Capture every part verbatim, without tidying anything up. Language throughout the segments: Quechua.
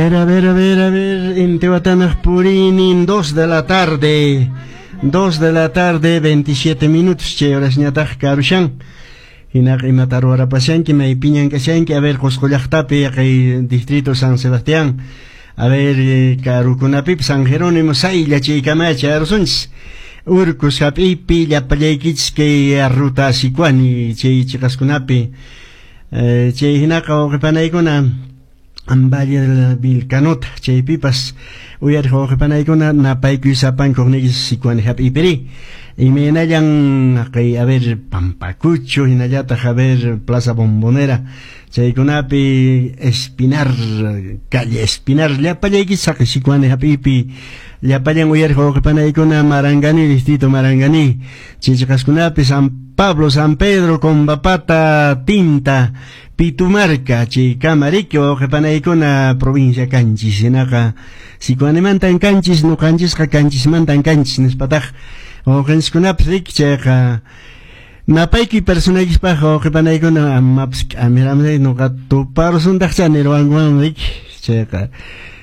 ver, a ver, a ver, a ver, Intihuatanaq puriynin, dos de la tarde, dos de la tarde, veintisiete minutos, chay horasñataq karushan. Hinaqa imata ruwarapashanki, maypiñan kashanki, a ver, Qusqu llaqtapi, kay distrito San Sebastián, a ver, eh, karukunapipas San Jerónimo, saylla chaykama chayarusunchis. Urcos hap'iypi llapallaykichis kay ruta Sicuani chay chiqaskunapi. Eh, chay hinaqa wawqipanaykuna Valle de la Vilcanota chaypipas uyariq wawqipanaykuna napaykuy sapankuq niykichis Sicuani hap'iypiri. Imaynallan kay, a ver, Pampacucho hinallataq, a ver, Plaza Bombonera chaykunapi, Espinar, calle Espinar, llapallaykichis haqay Sicuani hap'iypi llapallan uyariq wawqipanaykuna Marangani, distrito Marangani chay chiqaskunapi, San Pablo, San Pedro, Combapata, Tinta, Pitumarca chaykama riki wawqipanaykuna provincia Canchis. Hinaqa Sicuanimantan kanchis, nuqanchisqa Canchismantan kanchis nispataq wawqinchiskunapas riki. Chayqa napaykuy personaykispaq wawqipanaykuna amapas k'amiramri nuqa tuparusuntaqcha nirwankuman riki. Chayqa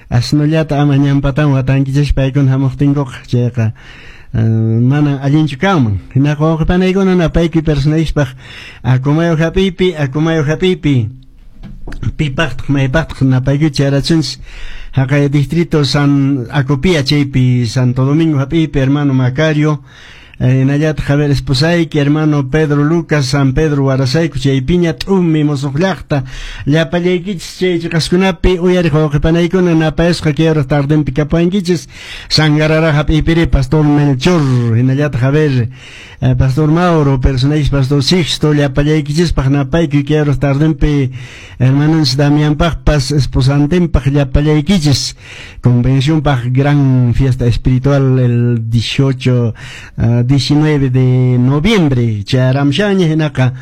asnullata ama ñampatan watankichis paykuna hamuqtinkuqa, chayqa mana allinchu kanman. Hinaqa wawqipanaykuna napaykuy personaykispaq Acomayo hap'iypi, Acomayo hap'iypi pipaqtaq maypaqtaq napaykuy chayarachunchis. Haqay distrito San Acopía chaypi, Santo Domingo hap'iypi hermano Macario, hinallataq, a ver, esposayki hermano Pedro Lucas, San Pedro Warasayku chaypiña, T'umi, Musuq llaqta, llapallaykichis chay chiqaskunapi uyariq wawqipanaykuna napayasqa kay hora tardenpi kapuwankichis. Sangarara hap'iypiri Pastor Melchor hinallataq, a ver, Pastor Mauro, personaykichis Pastor Sixto, llapallaykichispaq napaykuy kay hora tardenpi, hermanonchis Damianpaqpas esposantinpaq, llapallaykichis convencionpaq gran fiesta espiritual el dieciocho, uh, diecinueve de noviembre chayaramshaña. Hinaqa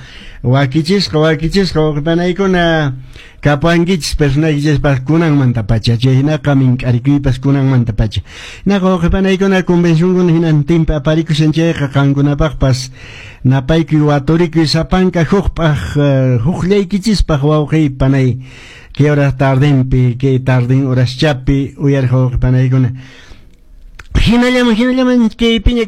wakichisqa, wakichisqa wawqipanaykuna kapuwankichis personaykichispaq kunanmantapacha. Chay hinaqa mink'arikuypas kunanmantapacha. Hinaqa wawqipanaykuna convencionkuna hinantinpi aparikushan, chayqa qankunapaqpas napaykuy waturikuy sapanka hukpaq, huqllaykichispaq wawqiy panay kay hora tardenpi, kay tarden horaschapi uyariq wawqipanaykuna. Hinallaman, hinallaman kay piña.